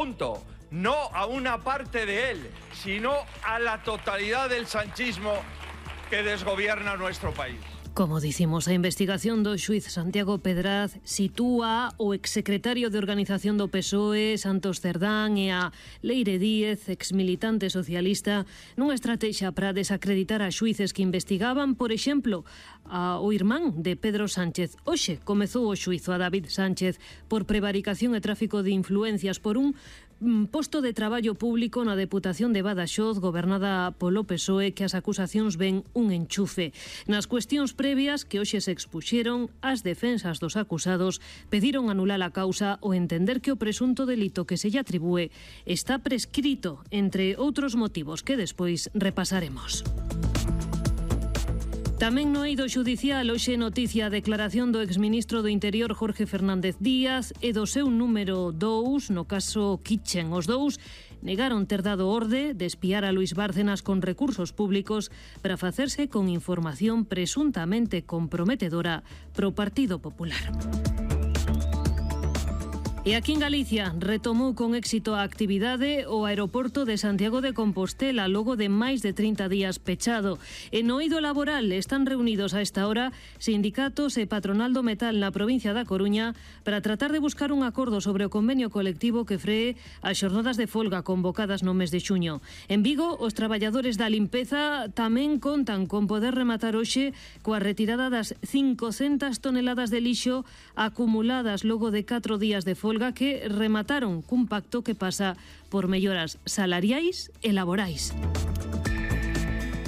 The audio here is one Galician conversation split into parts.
Punto. No a una parte de él, sino a la totalidad del sanchismo que desgobierna nuestro país. Como dicimos, a investigación do xuiz Santiago Pedraz sitúa o exsecretario de Organización do PSOE, Santos Cerdán, e a Leire Díez, exmilitante socialista, nunha estrategia para desacreditar a xuíces que investigaban, por exemplo, o irmán de Pedro Sánchez. Hoxe comezou o xuizo a David Sánchez por prevaricación e tráfico de influencias por un posto de traballo público na Deputación de Badaxoz, gobernada polo PSOE, que as acusacións ven un enchufe. Nas cuestións previas que hoxe se expuxeron, as defensas dos acusados pediron anular a causa o entender que o presunto delito que se lle atribúe está prescrito, entre outros motivos que despois repasaremos. Tamén no eido xudicial hoxe noticia a declaración do exministro do Interior Jorge Fernández Díaz e do seu número 2 no caso Kitchen. Os dous negaron ter dado orde de espiar a Luís Bárcenas con recursos públicos para facerse con información presuntamente comprometedora pro Partido Popular. E aquí en Galicia retomou con éxito a actividade o aeroporto de Santiago de Compostela logo de máis de 30 días pechado. E no eido laboral están reunidos a esta hora sindicatos e patronal do metal na provincia da Coruña para tratar de buscar un acordo sobre o convenio colectivo que free as xornadas de folga convocadas no mes de xuño. En Vigo, os traballadores da limpeza tamén contan con poder rematar hoxe coa retirada das 500 toneladas de lixo acumuladas logo de 4 días de folga que remataron cun pacto que pasa por melloras salariais e laborais.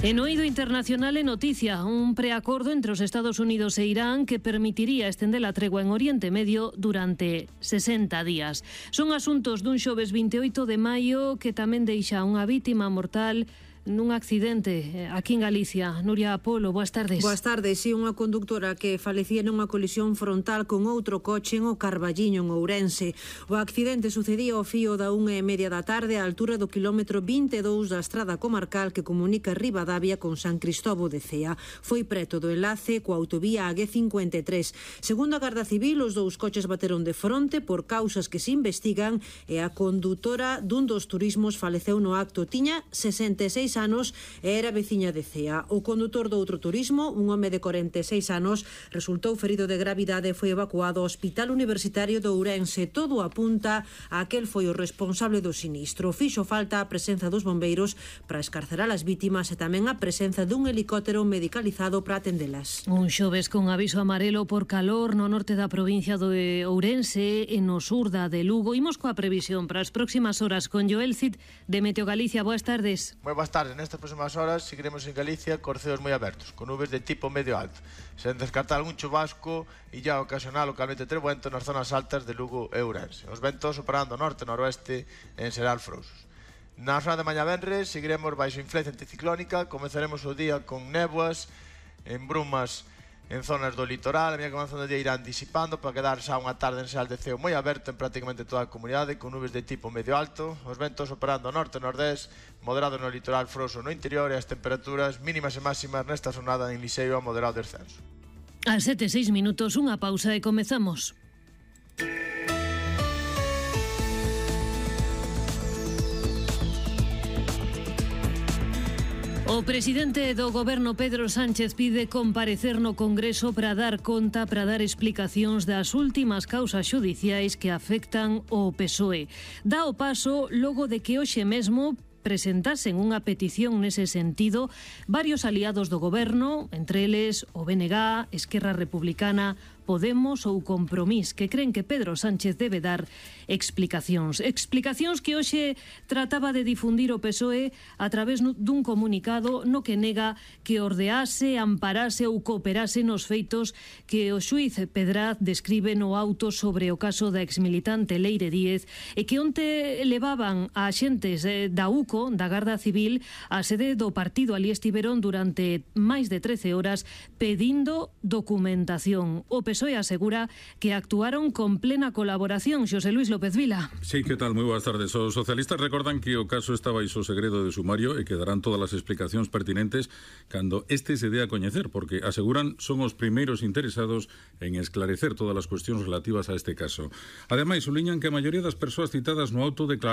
En o eido internacional é noticia un preacordo entre os Estados Unidos e Irán que permitiría estender a tregua en Oriente Medio durante 60 días. Son asuntos dun xoves 28 de maio que tamén deixa unha vítima mortal nun accidente aquí en Galicia. Nuria Polo, boas tardes. Boas tardes. Si unha conductora que falecía nunha colisión frontal con outro coche en o Carballiño, en Ourense. O accidente sucedía ao fío da 1:30 da tarde á altura do quilómetro 22 da estrada comarcal que comunica Ribadavia con San Cristóbo de Cea. Foi preto do enlace coa autovía AG53. Segundo a Garda Civil, os dous coches bateron de fronte por causas que se investigan e a condutora dun dos turismos faleceu no acto. Tiña 66 anos e era veciña de Cea. O condutor do outro turismo, un home de 46 anos, resultou ferido de gravidade e foi evacuado ao Hospital Universitario de Ourense. Todo apunta a aquel foi o responsable do sinistro. Fixo falta a presenza dos bombeiros para escarcerar as vítimas e tamén a presenza dun helicóptero medicalizado para atendelas. Un xoves con aviso amarelo por calor no norte da provincia de Ourense e no sur da de Lugo. Imos coa previsión para as próximas horas con Joel Cid de Meteo Galicia. Boas tardes. Moi boas tardes. Nestas próximas horas seguiremos en Galicia con ceos moi abertos, con nubes de tipo medio alto, sen descartar algún chubasco e ya ocasional localmente trebuento nas zonas altas de Lugo e Ourense. Os ventos operando norte-noroeste en Seral Frouxos. Na zona de mañá venres seguiremos baixo influencia anticiclónica, comezaremos o día con néboas, en brumas en zonas do litoral. A medida que avanzando o día irán disipando para quedar xa unha tarde en Seral de ceo moi aberto en prácticamente toda a comunidade, con nubes de tipo medio alto, os ventos operando norte-nordés, moderado no litoral frouxo no interior e as temperaturas mínimas e máximas nesta jornada en liseiro a moderado descenso. As 7:06, unha pausa e comezamos. O presidente do goberno Pedro Sánchez pide comparecer no Congreso para dar conta, para dar explicacións das últimas causas xudiciais que afectan o PSOE. Dá o paso logo de que hoxe mesmo presentasen unha petición nese sentido varios aliados do goberno, entre eles o BNG, Esquerra Republicana, Podemos ou Compromís, que creen que Pedro Sánchez debe dar explicacións. Explicacións que hoxe trataba de difundir o PSOE a través dun comunicado no que nega que ordease, amparase ou cooperase nos feitos que o xuiz Pedraz describe no auto sobre o caso da exmilitante Leire Díez e que onte levaban a axentes da UCO, da Garda Civil, á sede do partido. Ali estiveron durante máis de 13 horas pedindo documentación. O PSOE asegura que actuaron con plena colaboración. Xosé Luis López Vila. Sí, que tal? Moi boas tardes. Os socialistas recordan que o caso está baixo segredo de sumario e que darán todas as explicacións pertinentes cando este se dé a coñecer, porque aseguran son os primeiros interesados en esclarecer todas as cuestións relativas a este caso. Ademais, suliñan que a maioría das persoas citadas no auto declararon